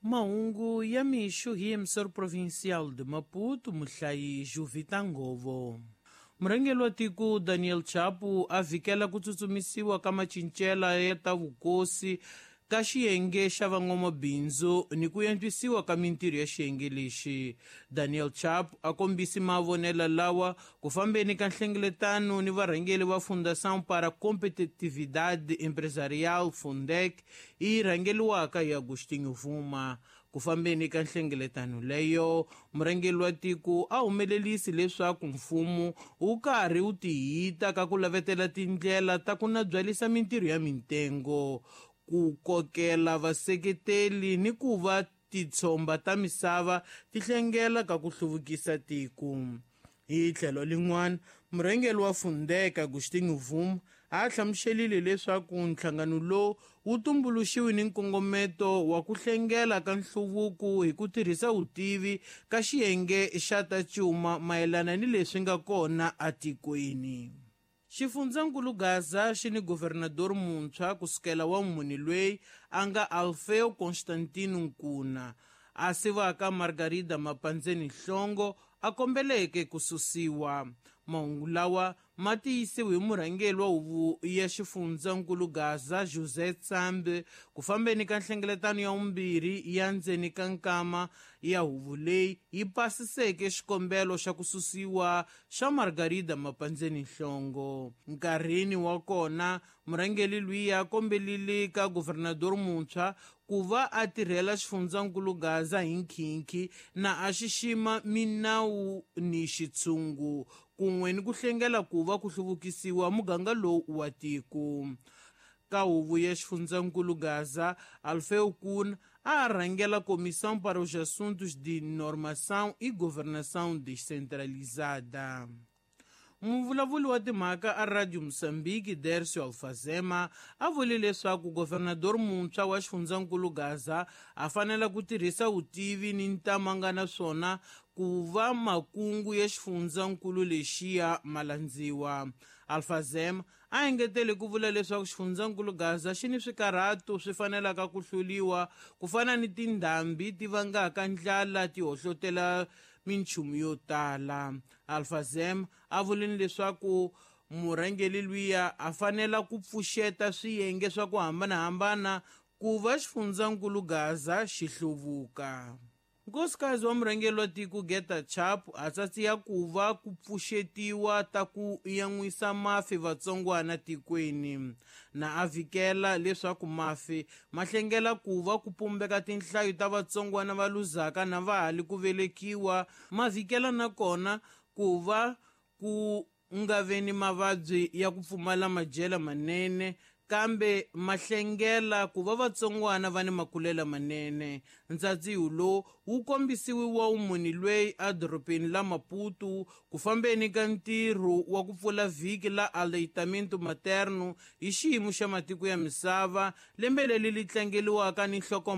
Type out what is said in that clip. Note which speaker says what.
Speaker 1: Mahungu ya mixo hi emissor provincial de Maputo, muhlayi Juvita Ngovo. Murhangeri wa tiko Daniel Chapo a vhikela ku tsutsumisiwa ka macincela ya ta vukosi ka xiyenge xa van'wamabindzu ni ku antswisiwa ka mintirho ya xiyenge lexi. Daniel Chapo a kombisi mavonelo lawa ku fambeni ka nhlengeletano ni varhangeri va Fundação para Competitividade Empresarial Fundec yi rhangeriwaka hi Agostinho Vuma. Ku fambeni ka nhlengeletano leyo, murhangeri wa tiko a humelerisi leswaku mfumo wu karhi wu tihita ka ku lavetela tindlela ta ku nabyalisa mintirho ya mitengo, ku kokela vaseketeli ni ku va titshomba ta misava ti hlengela ka ku hluvukisa tiko. Hi tlhelo lin'wana, murhangeri wa Fundec Agostinho Vuma a hlamuselile leswaku nhlangano lowu wu tumbuluxiwe ni nkongometo wa ku hlengela ka nhluvuko hi ku tirhisa vutivi ka xiyenge xa ta cuma mayelana ni leswi nga kona atikweni. Xifundzankulu Gaza xi ni governador muntshwa kusukela wa munhu loyi a nga Alfeo Constantino Nkuna a sivaka Margarida Mapandzeni Nhlongo a kombeleke ku susiwa. Mahungu lawa ma tiyisiwe hi murhangeri wa huvo ya xifundzankulu Gaza José Tsambe ku fambeni ka nhlengeletano ya vumbirhi ya ndzeni ka nkama ya huvo leyi yi pasiseke xikombelo xa ku susiwa xa Margarida Mapandzeni Nhlongo. Nkarhini wa kona, murhangeri luya a kombelile ka governador muntshwa ku va a tirhela xifundzankulu Gaza hi nkhinkhi na a xixima minawu ni xitshungu kun'we ni ku hlengela ku va ku hluvukisiwa muganga lowu wa tiko. Ka huvo ya xifundzankulu Gaza, Alfeu Kuna a rhangela Comissão para os Assuntos de Normação e Governação Descentralizada. Muvulavuli wa timhaka a Radio Moçambique, Dercio Alfazema, a vule leswaku governador muntshwa wa xifundzankulu Gaza a fanele ku tirhisa vutivi ni ntamu a nga na swona ku va makungu ya xifundzankulu lexiya ma landziwa. Alfazema a engetele ku vula leswaku xifundzankulu Gaza xi ni swikarhato swi fanelaka ku hluriwa ku fana ni tindhambi ti vangaka ndlala ti hohlotela minchumu yo tala. Alfazema a vulini leswaku murhangeri luya a fanela ku pfuxeta swiyenge swa ku hambanahambana ku va xifundzankulu Gaza xi hluvuka. Nkosikazi wa murhangeri wa tiko Geta Chapo a tsatsiya ku va ku pfuxetiwa ta ku yan'wisa mafi vatsongwana tikweni na a vhikela leswaku mafi ma hlengela ku va ku pumbeka tinhlayo ta vatsongwana va luzaka na va ha li ku velekiwa, ma vhikela nakona ku va ku nga ve ni mavabyi ya ku pfumala madyelo manene, kambe ma hlengela ku va vatsongwana va ni makulela manene. Ntsadziho lowu wu kombisiwe wa munhu loyi edorobeni la Maputo ku fambeni ka ntirho wa ku pfula vhiki la aleitamento materno hi xiyimo xa matiko ya misava lembe leri li tlangeriwaka ni nhlokomhaka.